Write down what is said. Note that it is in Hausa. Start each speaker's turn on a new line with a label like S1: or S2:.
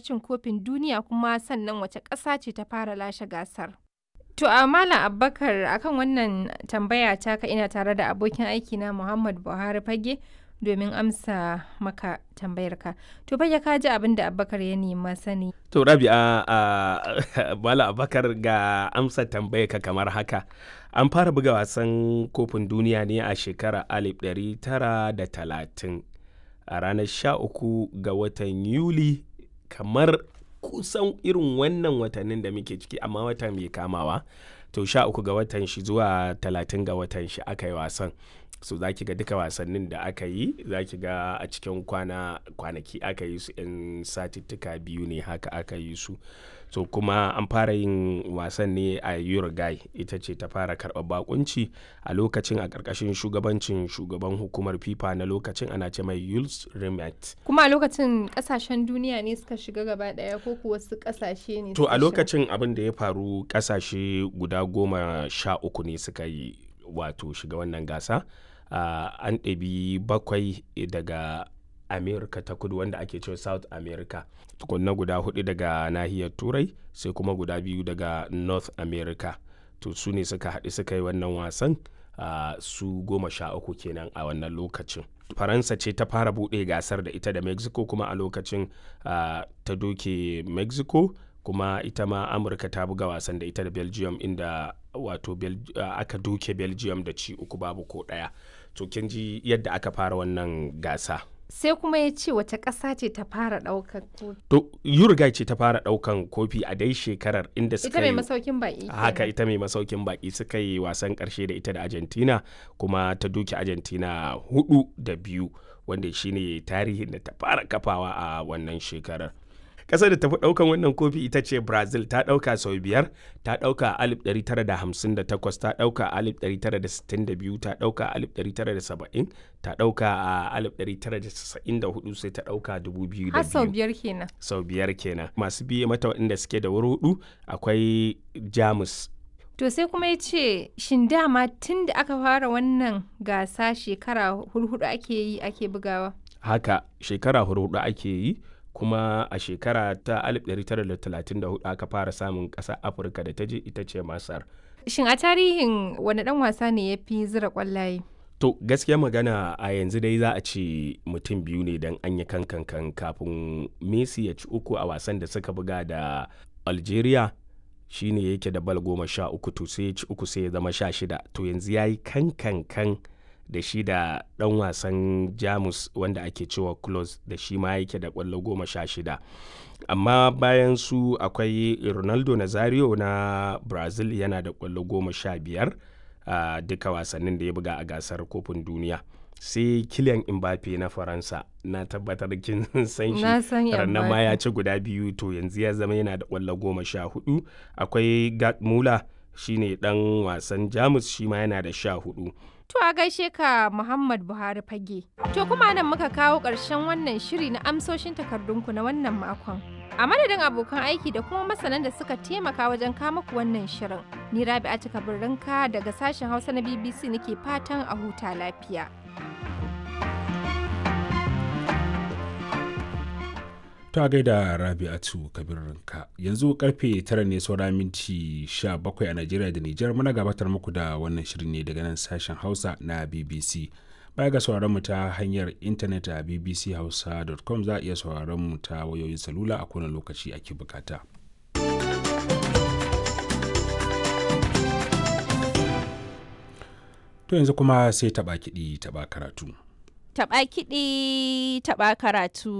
S1: cin kofin duniya, kuma sannan wace ƙasa ce ta fara lashe gasar? To a Malam Abubakar, akan wannan tambaya taka ina tare da abokin aiki na Muhammad Buhari Fage domin amsa maka tambayarka. To Fage, ka ji abin da Abubakar ya nema sani.
S2: To Rabi'a, a Malam Abubakar, ga amsa tambayarka kamar haka. An fara buga wasan kofin duniya ne a shekarar 1930 a ranar 13 ga watan Yuli, kamar kusan irin wannan watannin da muke ciki, amma wata mai kamawa. To 13 ga watan shi zuwa 30 ga watan shi aka yi wasan. So za ki ga duka wasannin da aka yi, za ki ga a cikin kwana kwanaki aka yi su, 'yan satittuka biyu ne haka aka yi su. So kuma an fara yin wasan ne a Uruguay, ita ce ta fara karɓar bakunci a lokacin, a ƙarƙashin shugabancin shugaban hukumar FIFA na lokacin, ana ce mai Jules Rimet.
S1: Kuma a lokacin kasashen duniya ne suka shiga gaba ɗaya ko kuwa wasu kasashe ne?
S2: To
S1: suka
S2: a
S1: shiga?
S2: Lokacin abin da ya faru, ƙasashe guda 13 ne suka yi, wato shiga wannan gasa. An ɗabi bakwai daga America ta Kudu, wanda ake cewa South America, tukunna guda hudu daga nahiyar Turai, sai kuma guda biyu daga North America. To su ne suka haɗu suka yi wannan wasan, su 13 kenan a wannan lokacin. Faransa ce ta fara buɗe gasar da ita da Mexico, kuma a lokacin ta doke Mexico. Kuma ita ma Amurka ta buga wasan da ita da Belgium, inda wato aka doke Belgium da ci uku babu ko ɗaya. To kin ji yadda aka fara wannan gasa.
S1: Sai kuma ya ce wace ƙasa ce ta fara ɗaukar kofi?
S2: To Uruguay ce ta fara ɗaukan kofi a dai shekarar, inda suka
S1: Ita mai
S2: yi
S1: masaukin baƙi
S2: haka
S1: kenan.
S2: Ita mai masaukin baki, suka yi wasan karshe da ita da Argentina, kuma ta doke Argentina 4-2, wanda shine tarihin da ta fara kafawa a wannan shekarar. Ƙasar da tafi ɗaukan wannan kofi ita ce Brazil, ta ɗauka sau biyar. Ta ɗauka a 1958, ta ɗauka a 1962, ta ɗauka a 1970, ta ɗauka a 1994, sai ta ɗauka 2002.
S1: Har sau biyar kenan.
S2: Sau biyar kenan. Masu biye mata waɗanda suke da wuri hudu, akwai Jamus.
S1: To sai kuma ya ce, shin dama tun da aka fara wannan gasa shekara hurhudu ake yi ake bugawa?
S2: Haka, shekara hudu ake yi, kuma a shekara ta 1934 aka fara samun ƙasa Afirka da ta je, ita ce Masar.
S1: Shin a tarihin wani ɗan wasa ne ya fi zira ƙwallaye?
S2: To gaskiya magana, a yanzu dai za a ce mutum biyu ne, don an yi kankan kafin Messi ya ci uku a wasan da suka buga da Algeria, shine yake da bal 13. To sai ya ci uku, sai ya zama 16. To yanzu ya yi kankankan da shi da ɗan wasan Jamus wanda ake cewa Klose, da shi ma yake da ƙwallo 16. Amma bayan su akwai Ronaldo Nazario na Brazil, yana da ƙwallo 15 a duka wasannin da ya buga a gasar kofin duniya. Sai Kylian Mbappe na Faransa, na tabbatar kin san shi.
S1: Na san
S2: Rannan ma ya
S1: Mbappe.
S2: ci guda biyu, to yanzu ya zama yana da ƙwallo 14. Akwai Gerd Muller, shine dan wasan Jamus, shi ma yana da 14.
S1: To a gaishe ka Muhammad Buhari Fage. To kuma nan muka kawo ƙarshen wannan shiri na amsoshin takardunku na wannan makon. A madadin abokan aiki da kuma masanan da suka taimaka wajen kama ku wannan shirin. Ni Rabi'a Kabirrinka daga sashen Hausa na BBC nake fatan a huta lafiya.
S3: Ta gaida Rabi'atu Kabirinka. Yanzu karfe 9 ne saura minti 17 a Najeriya da Nijar. Muna gabatar muku da wannan shirin ne daga nan sashen Hausa na BBC. Baya ga sauraron mu ta hanyar intanet a bbchausa.com, za a iya sauraron mu ta wayoyin salula a kowane lokaci ake bukata. To yanzu kuma sai taɓa kiɗi taɓa karatu.
S4: Taɓa kiɗi, taɓa karatu.